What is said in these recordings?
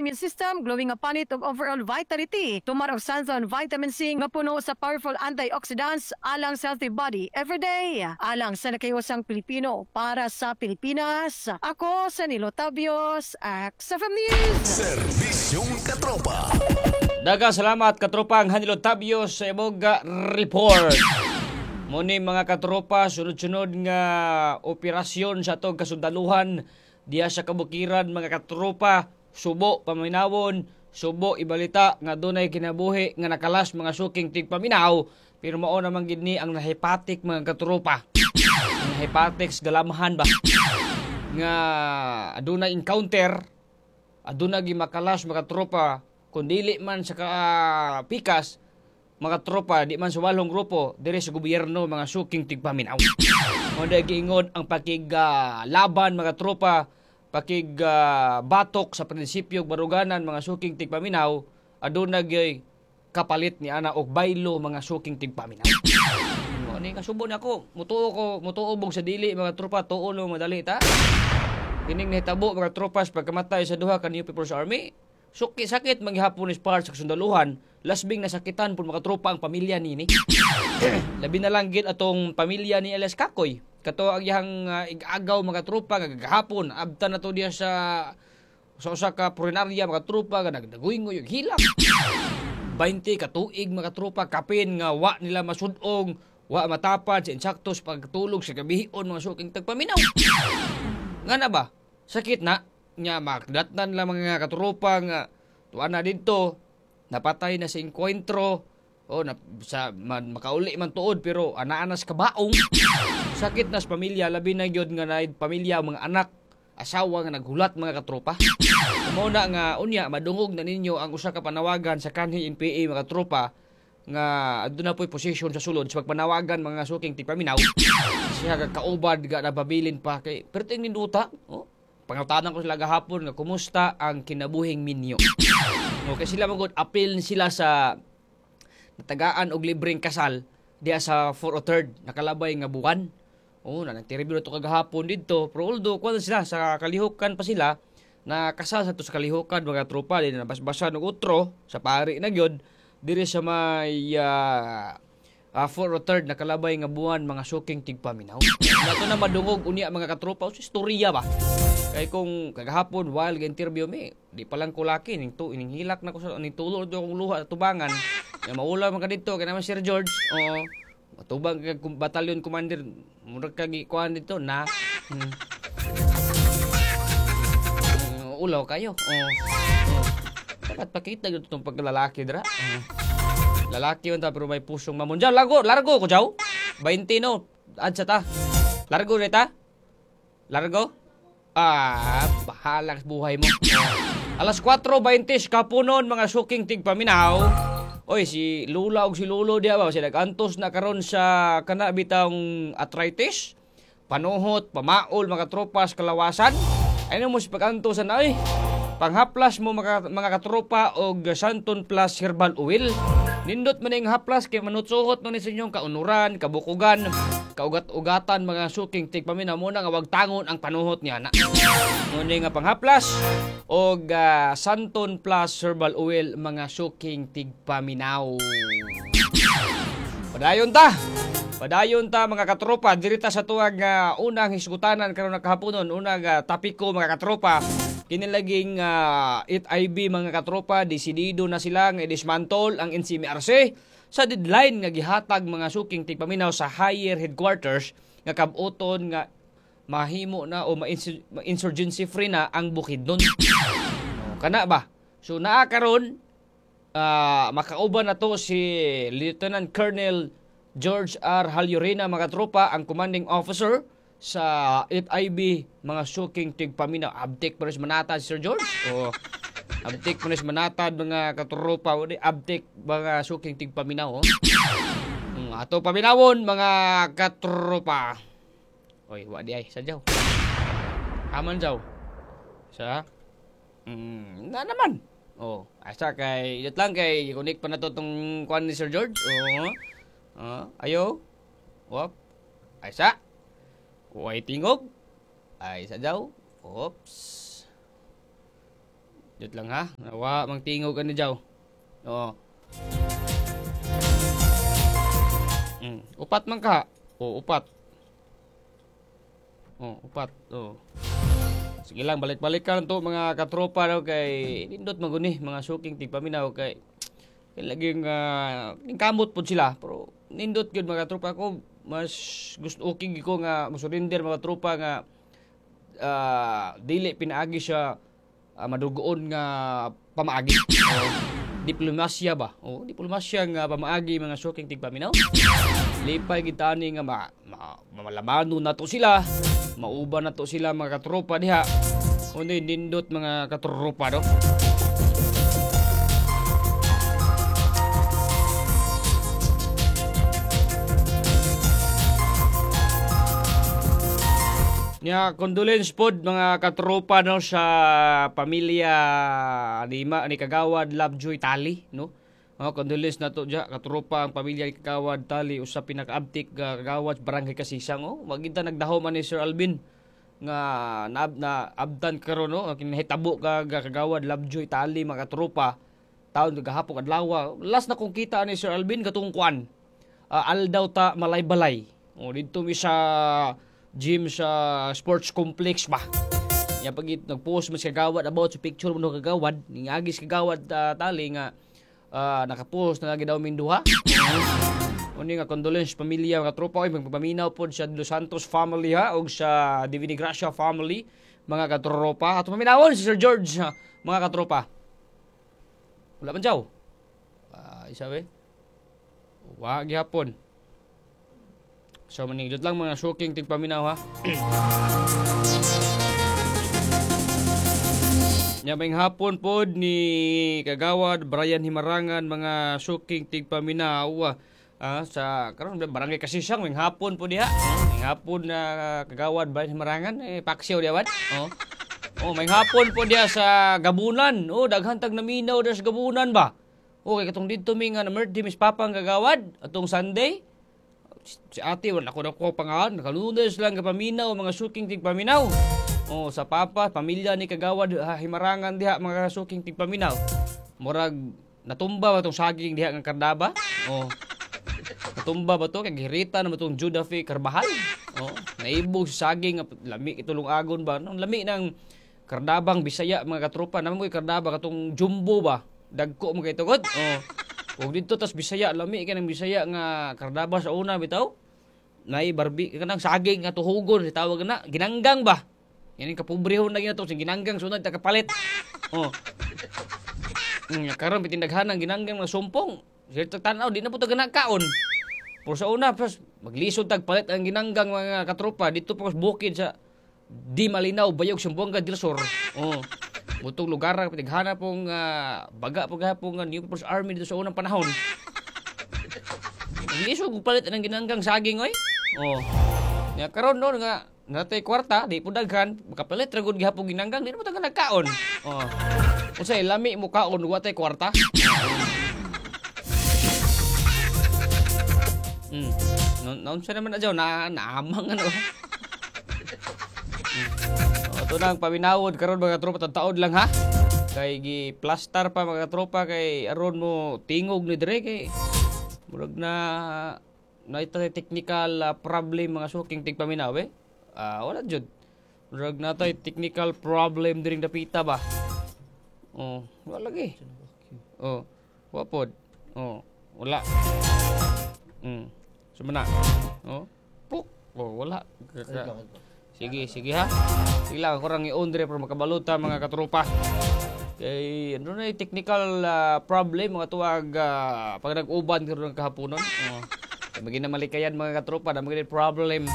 immune system, glowing nga panit ug overall vitality. Tumar og Sanzon Vitamin C nga puno sa powerful antioxidants alang sa healthy body everyday. Alang sa nakahiwasang Pilipino, para sa Pilipinas. Ako sa Nilo Tabios, XFM News. Serbisyong Katropa. Daghang salamat, katropang Hanilo Tabio, sa imong report. Muni, mga katropa, sunod-sunod nga operasyon sa atong kasundaluhan diya sa kabukiran, mga katropa, subo paminawon, subo ibalita nga dunay kinabuhi nga nakalas, mga suking tigpaminaw, pero mao naman gid ni ang nahepatik, mga katropa. Ang nahepatik sa galamhan ba nga adunay encounter, aduna gi makalas, mga tropa, kun dili man sa ka, pikas, mga tropa, di man sa walong grupo diri sa gobyerno, mga suking tigpaminaw. Mo giingon ang pakig laban, mga tropa, pakig batok sa prinsipyo ug baruganan, mga suking tigpaminaw, aduna gyud kapalit ni ana og baylo, mga suking tigpaminaw. Mo ni kasubo nako, mutuo ko, mutuo bog sa dili, mga tropa, tuo no madali ta. Kining nahitabo, mga tropas, pagkamatay sa duha ka New People's Army, suki sakit maghapon is part sa kasundaluhan, lasbing nasakitan pud, mga tropa, ang pamilya nini. Labi na lang gid atong pamilya ni Elias Kakoy. Kato ang iyang igagaw, mga tropa, nga gahapon abtan na to diya sa usa ka punerarya, mga tropa, nga nagdaguyngoy og hilak. 20 ka tuig, mga tropa, kapin nga wa nila masudong, wa matapad sa insaktos pagtulog sa gabion, mga suking tagpaminaw. Nga na ba? Sakit na. Nya makdatnan lang, mga katropa, nga tuwa na didto napatay na sa enkwentro o na, sa man, makauli man tuod pero anaanas kabaong. Sakit na sa pamilya, labi na gyud nga na pamilya, mga anak, asawa nga naghulat, mga katropa. Mao na nga unya madungog na ninyo ang usa ka panawagan sa kanhi NPA, mga tropa, nga aduna po'y posisyon sa sulod sa pagpanawagan, mga suking tigpaminaw, siya ka kaubad ga nababilin pa kay perting ninduta. Oh, pangutanan ko sila gahapon nga kumusta ang kinabuhing minyo. Okay sila magod apil sila sa natagaan og libreng kasal diya sa 4 o 3rd nakalabay nga buwan. Oh, na nagteribyo to kagahapon didto. Pero although kuan sila sa kalihukan pa sila na kasal sa to sa kalihukan, mga tropa, di na nabasbasan og utro sa pari na gyud diri sa may 4 o 3rd nakalabay nga buwan, mga suking tigpaminaw. Nato na madungog unya, mga katropa, sa istorya ba. Kay kung kagahapon while ga-interview mi, di pa lang ko laki ning tu ning hilak na ko sa ning tulo do akong luha sa tubangan. Ya maula man ka didto kay naman Sir George. Oo. Matubang kag battalion commander, murag kag ikuan dito na. Ulaw kayo. Oo. Oh. Dapat pakita gyud itong pagkalalaki dira. Oo. Lalaki yun ta pero may pusong mamon. Jaw, largo, largo ko jaw. 20 no. Adsa ta. Largo na ta. Largo. Ah, bahala sa buhay mo. Oh. Alas 4:20 kapunon, mga suking tigpaminaw. Oy, si Lula og si Lolo diya ba sila nag-antos na karon sa kana bitang arthritis. Panuhot, pamaol, mga tropas, kalawasan. Ay mo si pag-antos na oy. Panghaplas mo, mga katropa, og Santon Plus Herbal Oil. Nindot man ning haplas kay manutsuhot no ni sa inyong kaunuran, kabukugan, kaugat-ugatan, mga suking tigpaminaw, mo na nga wag tangon ang panuhot niya na. Muna nga panghaplas og Santon Plus Herbal Oil, mga suking tigpaminaw. Padayon ta. Padayon ta, mga katropa, diri ta sa tuwag nga unang hisgutanan karon nakahaponon, unang topiko, mga katropa. Kini laging 8IB, mga katropa, desidido na sila nga i-dismantle ang NCMRC sa deadline nga gihatag, mga suking tigpaminaw, sa higher headquarters nga kabuton nga mahimo na o ma-insurgency free na ang Bukidnon. Oh, kana ba? So naa karon makauban na to si Lieutenant Colonel George R. Halyurena, mga tropa, ang commanding officer sa 8IB, mga suking tigpaminaw. Abtik pa rin manatad, Sir George. O, abtik pa rin manatad, mga katropa. O, di, abtik, mga suking tigpaminaw. Oh. Ato paminawon, mga katropa. Oy, wa di ay sadyaw. Aman jaw. Sa na naman. Oh, asa kay yut lang kay connect pa na to tong kuan ni Sir George. Oo. Ayo. Wop. Ay sa. Way tingog. Ay sa daw. Oops. Diyot lang ha. Nawa mang tingog ani jaw. Oo. Upat man ka. O upat. Oh, upat. Oh. Sige lang, balik-balik ka lang to mga katropa daw kay nindot maguni mga suking tigpaminaw kay laging kamot pod sila pero nindot gyud mga tropa ko, mas gusto okay ko nga mosurrender mga tropa nga dili pinaagi siya madugoon nga pamaagi. Diplomasya ba? O diplomasya nga pamaagi mga suking tigpaminaw. Lipay gid ani nga malamano na to sila, mauban na to sila mga katropa diha. Unay nindot mga katropa do. Nya condolence pod mga katropa no sa pamilya ni Kagawad Lovejoy Tali no. Oh, condolence na to dya katropa ang pamilya ni Kagawad Tali, usa pinakaabtik kagawad barangay Kasisang. Oh, maginta nagdahom ani Sir Alvin nga na abdan karon no, kinahitabo ka Kagawad Lovejoy Tali mga katropa taon gahapon adlaw. Last na kong kita ni Sir Alvin katong kuan aldaw ta Malaybalay. Oh, didto mi sa gym sa sports complex ba. Ya pag nagpost man si Kagawad about sa picture mo no Kagawad, ningagi si Kagawad Tali nga nakapost na lagi daw minduha. Uni nga condolence pamilya mga tropa oy, magpaminaw pod sa Dos Santos family ha og sa Divina Gracia family mga katropa. Ato paminawon si Sir George ha, mga katropa. Wala man jaw. Isa be. Wa gihapon. So maningdot lang mga suking tigpaminaw ha. Nya may hapon pod ni Kagawad Brian Himarangan mga suking tigpaminaw sa karon barangay Kasisang may hapon pod diha. May hapon na Kagawad Brian Himarangan paksiw diha bad. Oh. Oh, may hapon pod diha sa Gabunan. Oh, daghan tag naminaw diha sa Gabunan ba. Oh, kay katong didto mi nga na birthday Miss Papang Kagawad atong Sunday. Si ate, wala ko na ko pangalan. Nakalunes lang kapaminaw, mga suking tigpaminaw. Oh, sa papa, pamilya ni Kagawad Himarangan diha, mga suking tigpaminaw. Murag, natumba ba itong saging diha ng Kardaba? Oh. Natumba ba ito? Kay gihirita na ba itong Judafe Carbajal? Oh, naibog sa saging, lami itulong agon ba? No, lami ng Kardabang Bisaya, mga katropa. Naman ko'y Kardaba, katong jumbo ba? Dagko mga itugod? Oh. Ug dito tas Bisaya, lami ka ng Bisaya nga Kardaba sa una bitaw. Nay barbi kanang saging nga tuhugon tawag na ginanggang ba. Yan ang kapobrehon na ginato sing ginanggang sunod ta kapalit. Oh. Karon bitindaghan ang ginanggang nga sumpong. Sirto tan-aw di na pud ta kaon. Pero sa una pas maglisod tag palit ang ginanggang mga katropa dito pa bukid sa di malinaw bayog Zamboanga del Sur. Oh. Mutong lugar ang pinighana pong baga po gahapong New People's Army dito sa unang panahon. Lisod kung palit ng ginanggang saging oy. Oh. Ya karon no nga natay kwarta di po daghan makapalit ra gud gihapon ginanggang di na mo taga nagkaon. Oh. Unsay lami mo kaon wa tay kwarta? Naunsa naman na jaw na naamang ano. Ito na ang paminawod karon mga tropa, taod lang ha. Kay gi plaster pa mga tropa kay aron mo tingog ni dire kay murag na naitay technical problem mga suking tigpaminaw eh. Wala jud. Murag natay technical problem diring dapita ba. Oh, wala lagi. Oh, wa pod. Oh, wala. Sumana. Oh, puk. Oh, wala. Sige, sige ha. Sige lang, ako rang i-on dire para makabaluta mga katropa. Kay ano na technical problem mga tuwag pag nag-uban karon ng kahaponon. Oh. Magina malikayan mga katropa, na magina problem.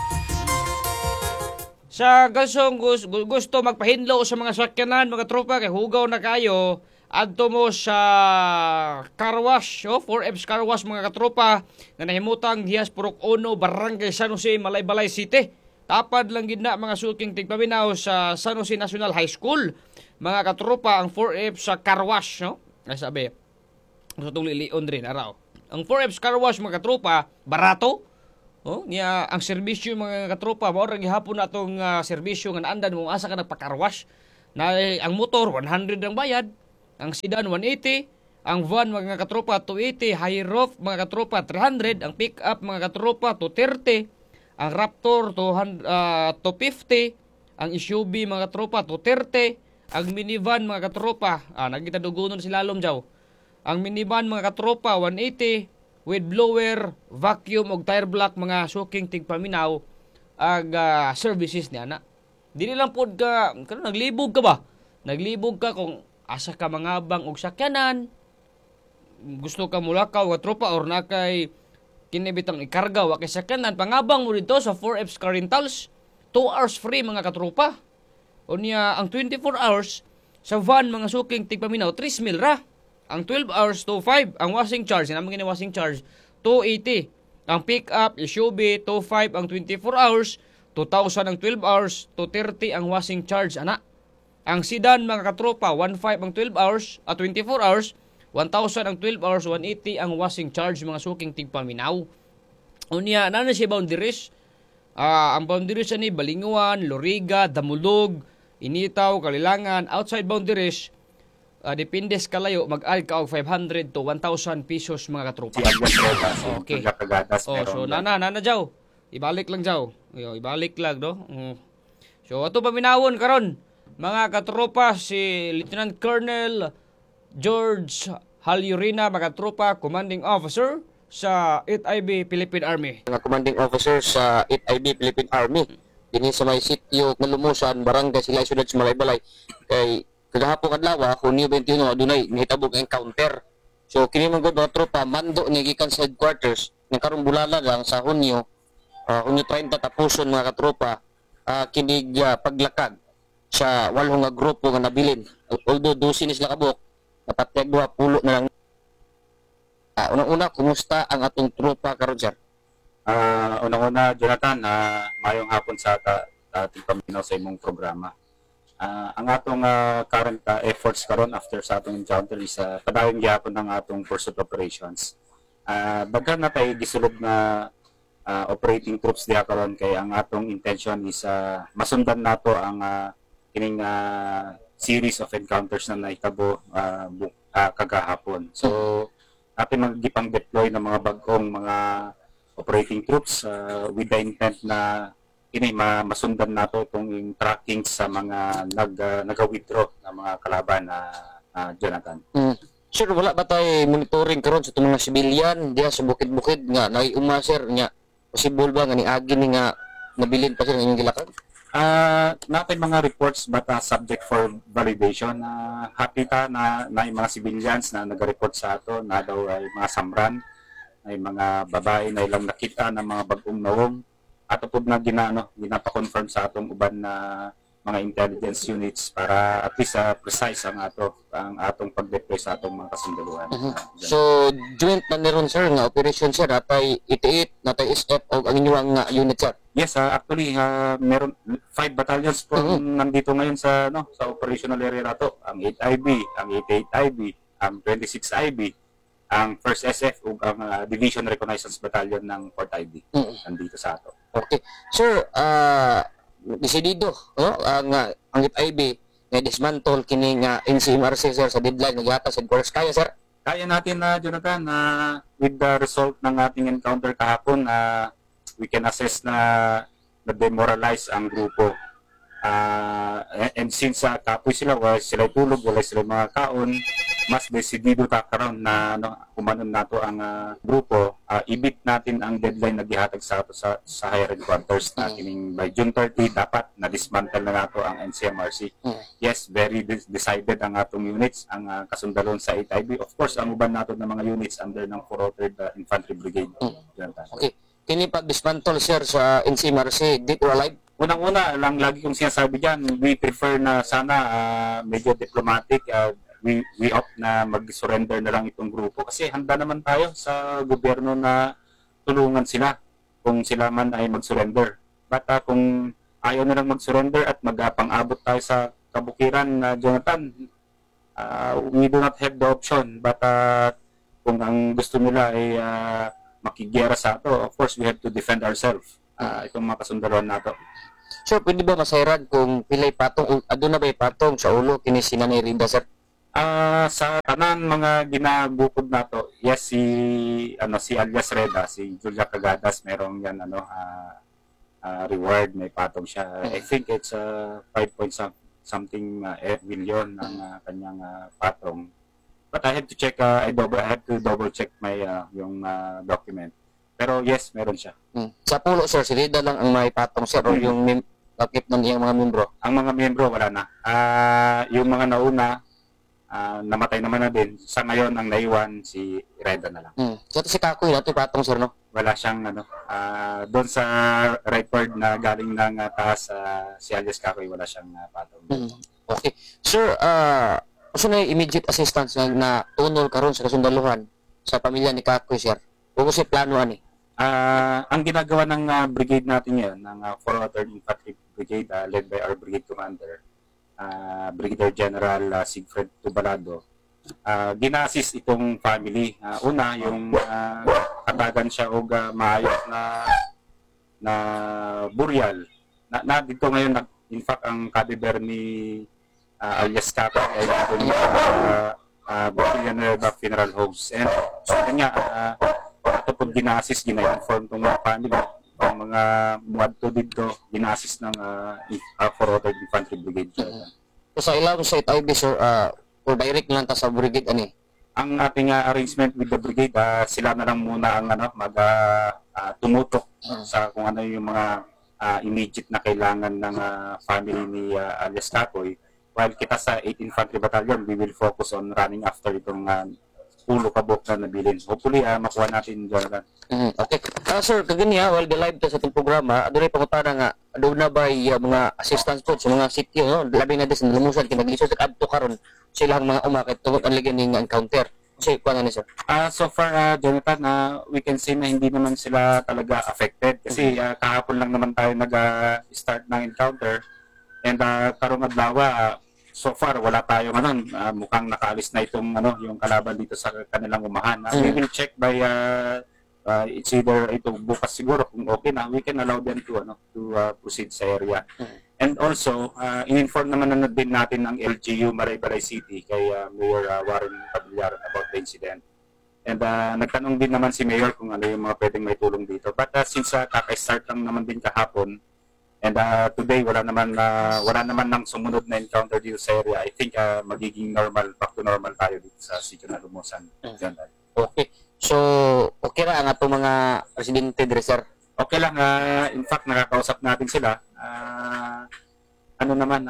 Sa gasong gusto magpahinlo sa mga sakyanan mga tropa kay hugaw na kayo, adto mo sa car wash, oh, 4F's Car Wash mga katropa nga nahimutang dihas Purok 1, Barangay San Jose, Malaybalay City. Tapad lang gid na mga suking tigpaminaw sa San Jose National High School. Mga katropa, ang 4F sa car wash, no? Ay sabi, sa itong lilion rin, araw. Ang 4F's Car Wash mga katropa, barato. Oh, niya ang serbisyo mga katropa, mao ra gihapon na atong serbisyo nga naandan mo asa ka nagpa-car wash. Na ang motor 100 ang bayad, ang sedan 180, ang van, mga katropa, 280, high roof, mga katropa, 300, ang pick up, mga katropa, 230, ang Raptor 200, 250, ang SUV, mga katropa, 230, ang minivan, mga katropa, nagita dugonon si lalom jaw. Ang minivan, mga katropa, 180 with blower, vacuum ug tire block, mga suking tigpaminaw, ag services niya na. Dili lang pod ka karon naglibog ka ba? Naglibog ka kung asa ka mangabang og sakyanan, gusto ka mulakaw nga tropa or na kay kini bitang ikarga wa kay sakyanan, pangabang mo dito sa 4Fs Car Rentals. 2 hours free, mga katropa. Unya ang 24 hours sa van, mga suking tigpaminaw, 3 mil ra. Ang 12 hours, 2.5. Ang washing charge, naman gini washing charge, 280. Ang pick up, SUV, 2.5 ang 24 hours, 2,000 ang 12 hours, 230 ang washing charge ana. Ang sedan, mga katropa, 1.5 ang 12 hours, at 24 hours, 1,000 ang 12 hours, 180 ang washing charge, mga suking tigpaminaw. Unya, nana siya boundaries. Ang boundaries ani Balingoan, Loriga, Damulog, Initao, Kalilangan. Outside boundaries, depende sa kalayo, mag-add ka og 500 to 1,000 pesos, mga katropa. Si Agnes Rojas, Kagadas, Oh, so nana, nana jaw. Ibalik lang jaw. Yo, ibalik lang do. So ato paminawon karon, mga katropa, si Lieutenant Colonel George Halyurina, mga katropa, commanding officer sa 8IB Philippine Army. Nga commanding officer sa 8IB Philippine Army dinhi sa may sitio nga Lumusan, Barangay Silay, Siyudad sa Malaybalay, kay kagahapon adlaw, Hunyo 21, adunay nahitabo nga encounter. So kini man gud, mga tropa, mando ni gikan sa headquarters nga karong bulala lang sa Hunyo, Hunyo 30, tapuson, mga katropa, kinig paglakag sa walo nga grupo nga nabilin. Although 12 ni sila kabuok, napatyag duha, pulo na lang. Unang-una, kumusta ang atong tropa karon, sir? Unang-una, Jonathan, mayong hapon sa ating paminaw sa imong programa. Ang atong current efforts karon after sa atong encounter is padayon gyapon ang atong pursuit operations. Daghan na tay gisulod na operating troops diha karon kay ang atong intention is masundan nato ang kining series of encounters na nahitabo kagahapon. So ating mga gipang deploy ng mga bag-ong mga operating troops with the intent na ini masundan nato itong yung tracking sa mga nag-withdraw na mga kalaban na Jonathan. Sir, wala ba tayo monitoring karon sa itong mga civilian diha sa bukid-bukid nga naiuma, sir, nga possible ba nga niagi ni nga nabilin pa sir ang inyong gilakag? Natay mga reports but subject for validation. Happy ta na na yung mga civilians na nag-report sa ato na daw ay mga samran, ay mga babae na ilang nakita ng mga bagong nawong. Ato po na ginano, ginapa-confirm sa atong uban na mga intelligence units para at least precise ang atong pag-deploy sa atong mga kasundaluhan. So joint na ni ron, sir, nga operation, sir, natay 88, natay SF o ang inyong nga unit, sir? Yes, actually meron five battalions po nandito ngayon sa no sa operational area nato. Ang 8IB, ang 88IB, ang 26IB, ang 1st SF ug ang Division Reconnaissance Battalion ng 4th IB nandito sa ato. Okay. Sir, desidido, no? Ang 8IB nga dismantle kini nga NCMRC, sir, sa deadline nga gihatag sa headquarters. Kaya, sir? Kaya natin na, Jonathan, na with the result ng ating encounter kahapon, we can assess na na-demoralize ang grupo. And since kapoy sila, wala sila tulog, wala sila mga kaon, mas desidido ta karon na no, humanon nato ang grupo, i-beat natin ang deadline na gihatag sa ato sa higher headquarters na kining by June 30 dapat na dismantle na nato ang NCMRC. Yes, very decided ang atong units, ang kasundalon sa 8IB. Of course, ang uban nato ng mga units under ng 403rd Infantry Brigade. Jonathan. Okay. Kini pag dismantle, sir, sa NCMRC, dead or alive? Unang-una lang, lagi kong sinasabi diyan, we prefer na sana medyo diplomatic, we opt na mag-surrender na lang itong grupo kasi handa naman tayo sa gobyerno na tulungan sila kung sila man ay mag-surrender. But kung ayaw na lang mag-surrender at mag-pang-abot tayo sa kabukiran na Jonathan, we do not have the option. But kung ang gusto nila ay makigiyera sa ato, of course we have to defend ourselves. Itong mga kasundaluhan nato. Sir, pwede ba masayran kung pilay patong o aduna ba patong sa ulo kini si Nanay Rida, sir? Sa tanan mga ginagukod nato, yes, si ano, si alias Reda, si Julia Cagadas, merong yan ano reward, may patong siya. I think it's 5 point something million ang kanyang patong. But I have to check, I have to double check my yung document. Pero yes, meron siya. Sa pulo, sir, si Rida lang ang may patong, sir, o yung lakip ng iyang mga membro? Ang mga miyembro, wala na. Yung mga nauna, namatay naman na din. Sa ngayon, ang naiwan, si Reda na lang. So, si Kakoy, nato patong, sir, no? Wala siyang ano, doon sa record na galing ng taas, si alias Kakoy, wala siyang patong. Okay. Sir, usa na yung immediate assistance na tunol karon sa kasundaluhan sa pamilya ni Kakoy, sir? Kung si plano ani? Ang ginagawa ng brigade natin ngayon, ng 403rd Infantry Brigade, led by our brigade commander, Brigadier General Siegfried Tubalado, gina-assist itong family. Una, yung katagan siya og maayos na na burial. Na dito ngayon, in fact, ang cadaver ni alias Kakoy ay nandun sa Villanueva Funeral Homes. And so, yun nga, ato po gina-assist, gina-inform tong mga family, ang mga muadto dito, gina-assist ng 403rd Infantry Brigade. So, sa ilawom sa 8IB, sir, or direct lang ta sa brigade ani? Ang ating arrangement with the brigade, sila na lang muna ang ano, mag tumutok sa kung ano yung mga immediate na kailangan ng family ni alias Kakoy. While kita sa 8 Infantry Battalion, we will focus on running after itong 10 kabuok na nabilin. Hopefully, makuha natin, Jonathan. Okay. Sir, kaganiya, while the live ta sa atong programa, adunay pangutana nga aduna ba mga assistance po sa mga sitio, no? Labi na sa Lumusan kay naglisod sa adto karon sa ilang mga uma kay tungod ang ligyan ning encounter. Kasi kuan na ni, sir? So far, Jonathan, we can say na hindi naman sila talaga affected kasi kahapon lang naman tayo nag-start ng encounter and karong adlaw, so far wala tayong ano, mukhang nakaalis na itong ano, yung kalaban dito sa kanilang umahan. We will check by it's either ito bukas siguro, kung okay na, we can allow them to ano, to proceed sa area. And also, in-inform naman na din natin ang LGU Malaybalay City kay Mayor Warren Pavillar about the incident. And nagtanong din naman si Mayor kung ano yung mga pwedeng may tulong dito. But since kaka-start lang naman din kahapon and today wala naman nang sumunod na encounter dito sa area, I think magiging normal, back to normal tayo dito sa Sitio na Lumusan. Diyan. Okay. So, okay ra ang atong mga residente dire, sir? Okay lang, in fact nakakausap natin sila. Ano naman,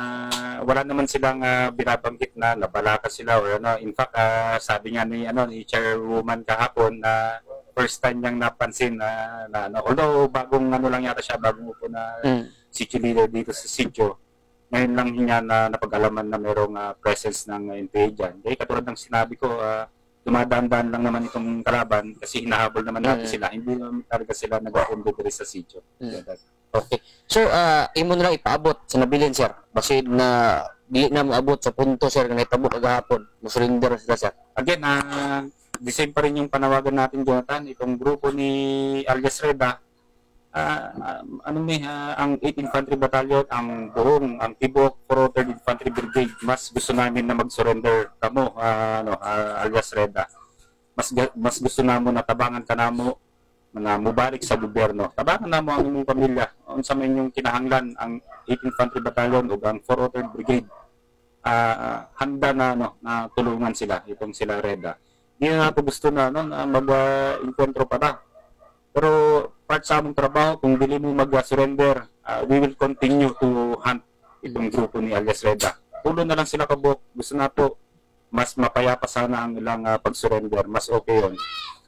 wala naman silang binabanggit na nabalaka sila or ano. In fact, sabi nga ni ano, ni chairwoman kahapon na first time niyang napansin na ano, although bagong ano lang yata siya, bagong upo na city leader dito sa sitio. Ngayon lang niya na napag-alaman na merong presence ng NPA dyan. Kaya katulad ng sinabi ko, dumadaan-daan lang naman itong kalaban kasi hinahabol naman natin sila. Hindi naman talaga sila nag-pundo diri sa sitio. Okay. Sir, imo na lang ipaabot sa nabilin, sir. Basid na dili na moabot sa punto, sir, nga nahitabo kagahapon. Mo-surrender sila, sir. Again, the same pa rin yung panawagan natin, Jonathan. Itong grupo ni alias Reda, ano may, ang 8 Infantry Battalion, ang buong, ang Tibok 403rd Infantry Brigade, mas gusto namin na mag-surrender kamo, ano, alias Reda. Mas gusto namo na tabangan ka namo na mubalik sa gobyerno. Tabangan namo ang imong pamilya. Unsa man inyong kinahanglan, ang 8 Infantry Battalion ug ang 403rd Brigade handa na ano, na tulungan sila, itong sila Reda. Hindi na nato gusto na ano, na mag-enkwentro pa na. Pero part sa among trabaho, kung dili mo mag-surrender, we will continue to hunt itong grupo ni alias Reda. 10 na lang sila kabuok. Gusto nato mas mapayapa sana ang ilang pag-surrender. Mas okay yun.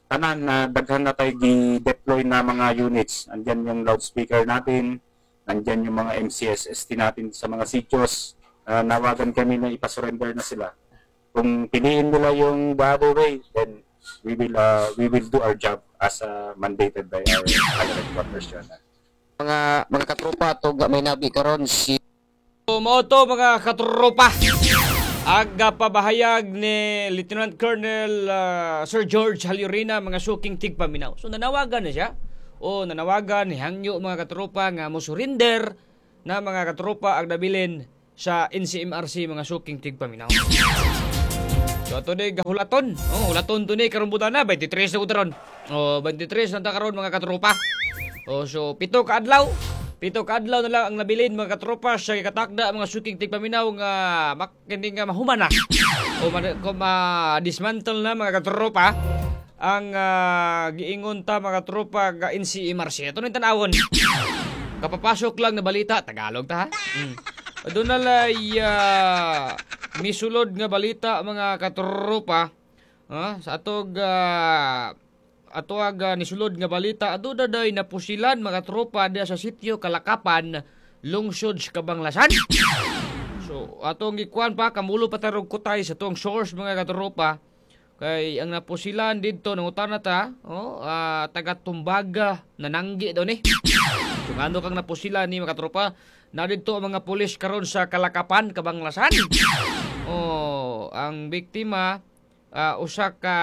Tanan na daghan na tayo gi-deploy na mga units. Andyan yung loudspeaker natin, nandyan yung mga MCSST natin sa mga sitios. Nawagan kami na ipasurrender na sila. Kung piliin nila yung the other way, then we will do our job as mandated by our higher headquarters, Jonathan. Mga katropa to may nabi karon si Mao to, mga katropa, aga pabahayag ni Lieutenant Colonel Sir George Halurina, mga suking tigpaminaw. So nanawagan na siya. O nanawagan ni hangyo, mga katropa, nga mo surrender na mga katropa ang nabilin sa NCMRC, mga suking tigpaminaw. So ato ni gahulaton. Oh, hulaton to ni karon butana 23 na utaron. Oh, 23 na ta karon, mga katropa. Oh, so 7 ka adlaw. 7 ka adlaw na lang ang nabilin, mga katropa, sa katakda, mga suking tigpaminaw, nga kini nga mahuman na o ma dismantle na, mga katropa, ang giingon ta, mga katropa, ga NCMRC. Ato ning tan-awon. Kapapasok lang na balita, Tagalog ta ha. Doon na lay misulod nga balita, mga katropa, sa atog atoag nisulod nga balita, aduna day napusilan, mga tropa, diya sa sitio Kalakapan, lungsod sa Kabanglasan. So atong gikuan pa, kamulo pa tarog kutay sa atong source, mga katropa, kay ang napusilan didto, nangutana ta, oh, taga Tumbaga, nananggi daw ni. So ngano kang napusilan ni, mga katropa, na didto ang mga pulis karon sa Kalakapan, Kabanglasan. Oh, ang biktima usa ka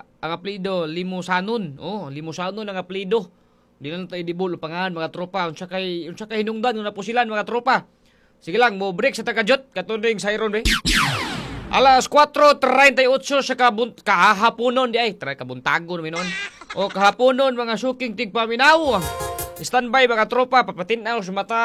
ang apelyido Limusanon. Oh, Limusanon ang apelyido. Di na lang tayo dibul pangalan, mga tropa. Unsa kay hinungdan nga napusilan, mga tropa? Sige lang, mo break sa takajot katuning siren be. Alas 4:38 sa kahaponon di ay, try kabuntagon mi noon. O kahaponon, mga suking tigpaminaw. Standby, mga tropa, papatinaw sa mata.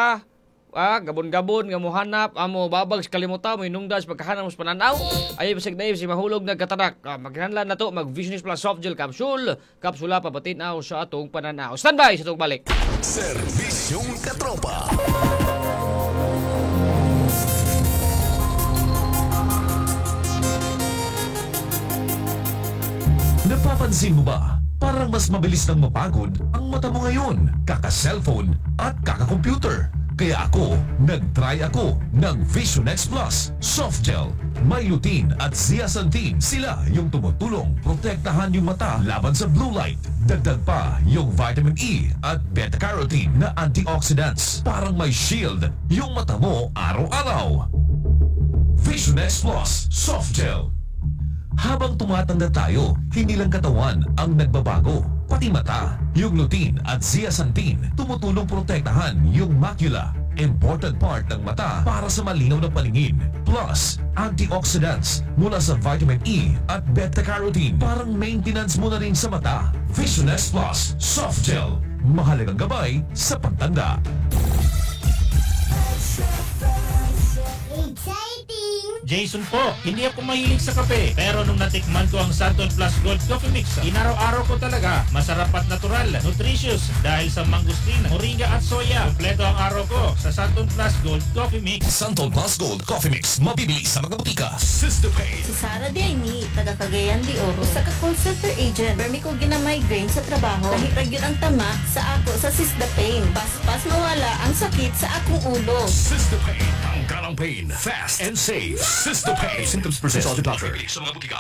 Ah, gabon-gabon nga mohanap, amo babag sa kalimutan, mo hinungdan sa pagkahanap mo sa pananaw. Ay basig dahil si mahulog nagkatarak. Ah, magkinahanglan na to mag Visionis Plus Soft Gel Capsule. Kapsula papatinaw sa atong pananaw. Standby sa atong balik. Serbisyong Katropa. Napapansin mo ba? Parang mas mabilis nang mapagod ang mata mo ngayon. Kaka-cellphone at kaka-computer. Kaya ako, nag-try ako ng Vision X Plus Soft Gel. May lutein at zeaxanthin. Sila yung tumutulong protektahan yung mata laban sa blue light. Dagdag pa yung vitamin E at beta-carotene na antioxidants. Parang may shield yung mata mo araw-araw. Vision X Plus Soft Gel. Habang tumatanda tayo, hindi lang katawan ang nagbabago, pati mata. Yung lutein at zeaxanthin tumutulong protektahan yung macula, important part ng mata para sa malinaw na paningin. Plus, antioxidants mula sa vitamin E at beta-carotene, parang maintenance mo na rin sa mata. Vision X Plus Soft Gel. Mahalagang gabay sa pagtanda. Exciting! Jason po, hindi ako mahilig sa kape. Pero nung natikman ko ang Santon Plus Gold Coffee Mix, inaraw-araw ko talaga. Masarap at natural, nutritious dahil sa mangosteen, moringa at soya. Kompleto ang araw ko sa Santon Plus Gold Coffee Mix. Santon Plus Gold Coffee Mix. Mabibili sa mga botika. Sister Pain. Si Sara Diaymi, taga Cagayan de Oro, usa ka call center agent. Permi ko gina-migraine sa trabaho. Lahi ra gyud ang tama sa ako sa Sisda Pain. Paspas mawala ang sakit sa akong ulo. Sister Pain. Tanggal ang pain. Fast and safe. Sister Pain. Symptoms persist. Consult your doctor. Sa mga botika.